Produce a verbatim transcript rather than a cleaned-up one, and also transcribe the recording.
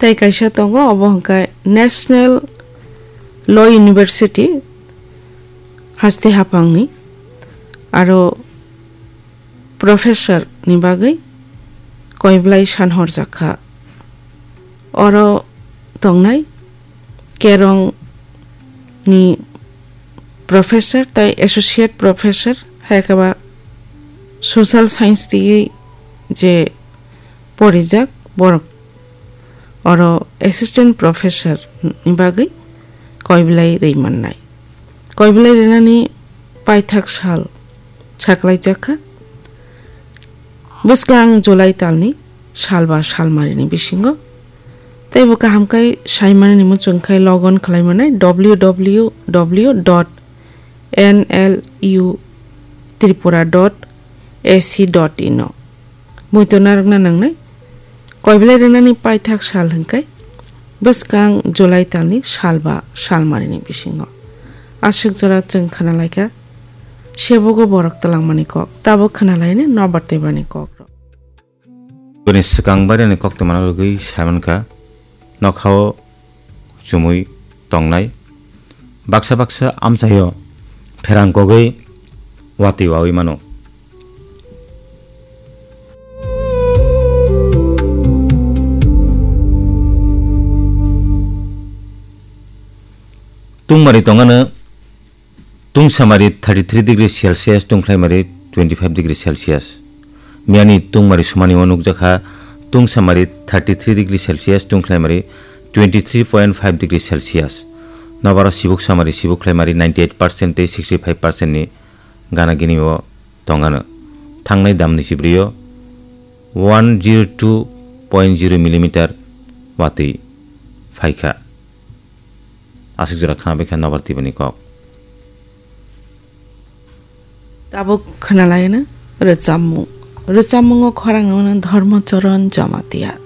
Tei kaisa tongo, obo hwnkhe National Law University, Haste Haphangni, aro professor ni bagwi koiblai san horjak kha. Oro tongnai Kerong ni professor tei associate professor, hai khe ba social science twiwi je porijak borok oro assistant professor ni bagwi koiblai rwi mannai. Koiblai rwnani paithak sal saklaijak kha bwskang July talni sal ba salmarini bisingo. Tei bo kaham khe saimani ni muchung khe log on khlai mannai W W W dot N L U Tripura dot A C dot in o. Muitu narwkna nangnai. Koiblai rwnani paithak sal hwnkhe bwskang July talni sal ba salmarini bisingo. Aswk jora chwng khwnalaikha sebogo borok twlangmani kok. Tabuk khwnalaini nobar twibani kokrok. Bini swkang bairani koktwmano rwgwi saimankha, nokhao chumui tongnai. Baksa baksa amchaio pherang kogwi watwi wawi mano. Tungmari tongano tungsamari thirty three degree Celsius, tungkhlaimari twenty five degree Celsius. Miyani tungmari sumani o nukjakha, tungsamari thirty three degree Celsius, tungkhlaimari twenty three point five degree Celsius. Nobaro sibuk samari sibuk khlaimari ninety eight percent tei sixty five percent ni gana gini o tongano. Thangnai damni sibrio one zero two point zero millimeter watwi phaikha. Aswk jora khnabaikha nobar twibani kok. Tabuk khwnalaino rwchapmung. Rwchapmungo khorang wngno Dharmacharan Jamatia.